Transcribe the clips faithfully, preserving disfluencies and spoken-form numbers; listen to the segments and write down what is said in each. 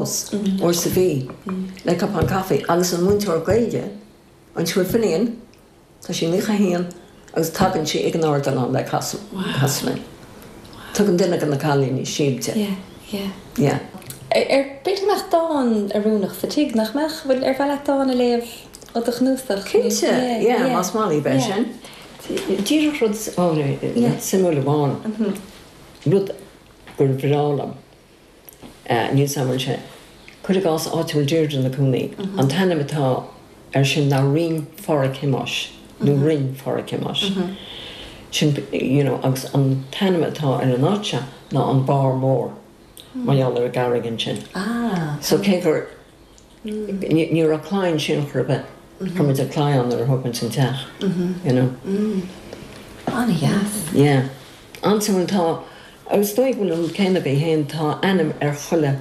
Uair sa mhí le cupán caife agus an múinteoir Gaeilge, an Siúr Finian, tá sí naocha haon agus tagann sí ag an ardileán le casadh linn. Tugann duine de na cailíní síob di. Yeah, yeah. Yeah. Ar b'fhéidir go mbeadh dán oiriúnach sa tigh, nach mbeadh? Bhfuil ar mhaith leat dán a léamh ó do chnuasach? Cinnte, yeah, más maith libh é sin. Díreach rud suimiúil amháin, rud gur bhreá liom, níl 's a'm an bhfuil sé, cuir i gcás áit a bhfuil Deirdre ina cónaí, an t-ainm atá air sin ná Rinn Phádraig Thomáis nó Rinn Phádraig Thomáis. Sin, you know, agus an t-ainm atá ar an áit seo ná an Barr Mór mar gheall ar an gcarraig ansin. So cé gur, ní raibh claí ansin chor ar bith, chuir muid an claí ann nuair a thóg muid an teach, you know. An-dheas. Yeah. An-suimiúil, tá, agus is dóigh go bhfuil an rud céanna agaibh féin, tá ainm ar chuile,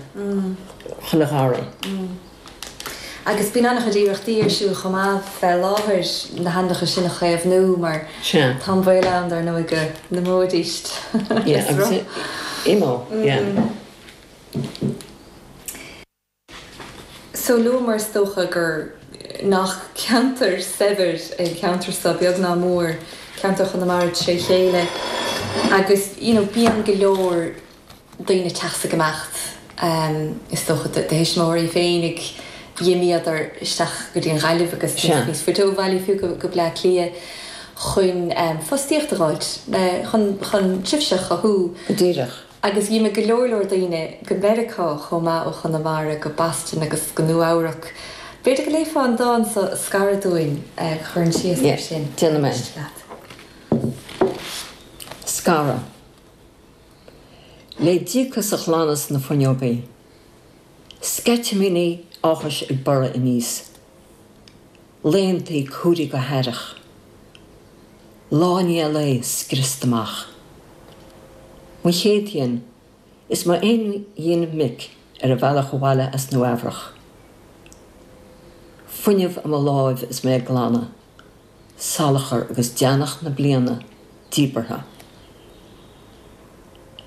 chuile gharraí. Agus bíonn an-chuid iarrachtaí ar siúl chomh maith fé láthair na hainmneacha sin a chaomhnú mar tá an baol ann dar ndóigh go n-imeoidís le sruth. Imeoidh, yeah. So luamar is dócha gur nach ceantar saibhir é an ceantar seo, beag ná mór, ceantar Chonamara tré chéile agus you know bíonn go leor daoine ag teacht 's ag imeacht, is dócha do thuismitheoirí féinig, dh'imíodar isteach go dtí an Ghaillimh agus níos faide ó bhaile fiú go Bleá Cliath chun fostaíocht a dh'fháilt, chun chun tréimhse a chothú. Go díreach. Agus dh'imigh go leor leor daoine go Meiriceá chomh maith ó Chonamara, go Boston agus go Nua Eabhrac. B'fhéidir go léifeá an dán so 'Scaradh' dúinn a chuireann síos air sin. Déanfaidh mé. Scaradh. Le díocas a ghlanadh sna fuinneogaí. Sceitimíní áthais ag borradh aníos. Laethantaí cumhraithe go haireach. Lá i ndiaidh lae scriosta amach. Mo chéad ghin is m'aon ghin mic ar a bhealach abhaile as Nua Eabhrach. Fuinneamh i mo láimh is mé ag glanadh. Salachar agus deannach na bliana díbeartha.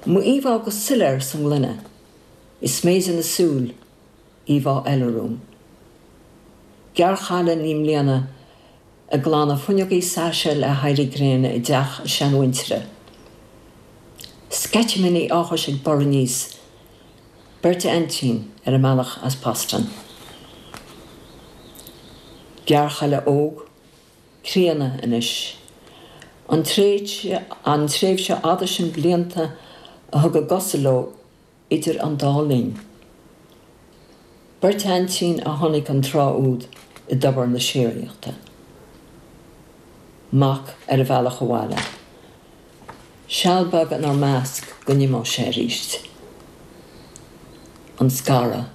M'íomhá go soiléir sa ngloine, i sméide na súl, íomhá eile romham. Gearrchaile naoi mbliana ag glanadh fuinneogaí saise le héirí gréine i dteach a seanmhuintire. Sceitimíní áthais ag borradh aníos, beirt aintín ar a mbealach as Boston. Gearrchaile óg, críonna anois. An tréimhse fhada sin blianta a thug a gcosa leo idir an dá linn. Beirt aintín a chonaic an tráth úd i dtobar na síoraíochta. Mac ar a bhealach abhaile. Seal beag inár measc go n-imeodh sé arís. An scaradh.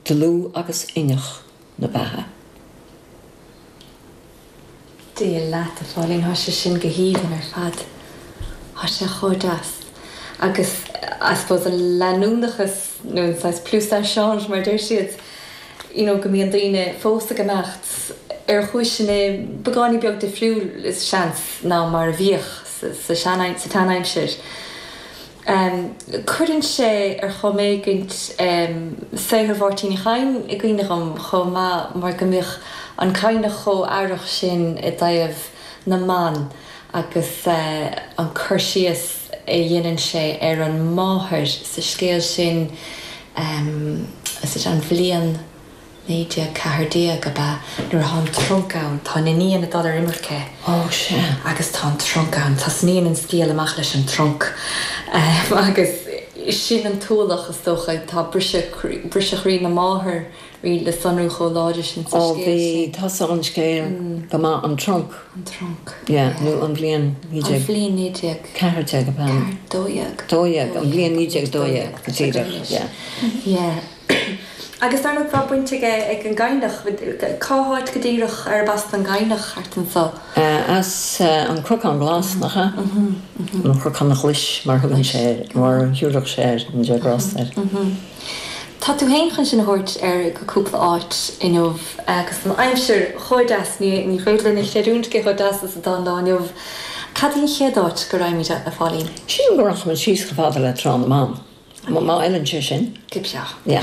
Dlúth agus inneach na beatha. Dia leat, a Phauline, thá sé sin go haoibhinn ar fad. Thá sé chomh deas. Agus I suppose an leanúnachas nó an saghas plus ça change mar a deir siad, you know go mbíonn daoine fós ag imeacht ar chúiseanna beagáinín beag difriúil is seans ná mar a bhíodh sa sa tseanaimsir. Cuireann sé ar chuma éigint saothar Mháirtín Uí Chadhain i gcuimhne dhom chomh maith mar go mbíodh an Cadhnach chomh aireach sin i dtaobh na mban agus an cur síos a dheineann sé ar an máthair sa scéal sin, is it an bhliain naoi déag ceathair déag ab ea, nuair atá an trunc ann, tá an iníon ag dul ar imirce Ó, sea. agus tá an trunc ann, tosnaíonn an scéal amach leis an trunc agus sin an t-ualach is dócha, tá briseadh, briseadh chroí na máthar le sonrú chomh láidir sin sa Ó, scéal bhí, sin. thosaigh an scéal go maith, an trunc. An trunc, Yeah, yeah. nó an bhliain naoi An déag bhliain naoi déag. ceathair déag ab ea? Ceathair, dó dhéag. Dó dhéag, an bhliain naoi déag dó dhéag, go díreach, yeah. Yeah. Agus dar ndóigh tá baint aige ag an gCadhnach, cá háit go díreach arb as don gCadhnach thart anso? As an Cnocán Glas, nach ea? An Chnocán Ghlais mar thugann sé air, mar a thiúrfadh sé air, an Dé grásta air. Tá tú féin chun sinn a thabhairt ar go cúpla áit inniu agus an aimsir chomh deas, ní féidir linn a chreidiúint cé chomh deas is atá an lá inniu. Cad í an chéad áit go raghaimid, a Phauline? Sílim go rachaimid síos chomh fada le Trá na mBan. Má fheileann sé sin. Go breá. Yeah.